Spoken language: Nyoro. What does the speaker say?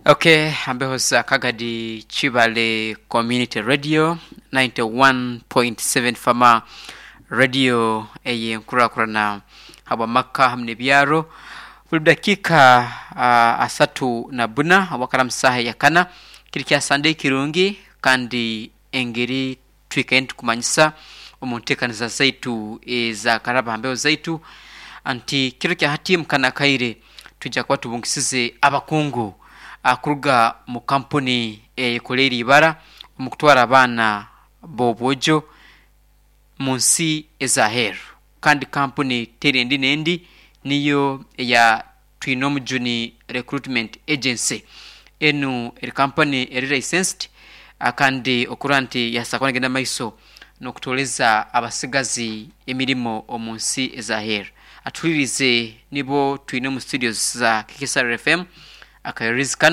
Okay, ambeho za Kagadi Chibale Community Radio 91.7 Fama Radio ey'enkurakurana habw'amaka hamu n'ebyaro. Buli dakiika 34 obwakara mu saaha eyakana kiri kya Sunday kirungi, kandi engeri twikaire nitukumanyisa omu nteekaniza zaitu eza karaba ha mbeho zaitu nti kiro kya hati mukana akaire twija kuba tubungisize abakungu kuruga mu kampuni eyekoleire ibara omu kutwara abaana b'obwojo mu nsi ez'aheeru, kandi kampuni teri endi n'endi, niyo eya Twinomujuni Recruitment Agency. Enu eri kampani eri licensed kandi okurora nti yasobola kuba negenda mumaiso n'okutooleza abasigazi emirimo omu nsi ez'aheeru. Atuhuliriize nibo twine omu studios za KSR FM akayoorezi kanu.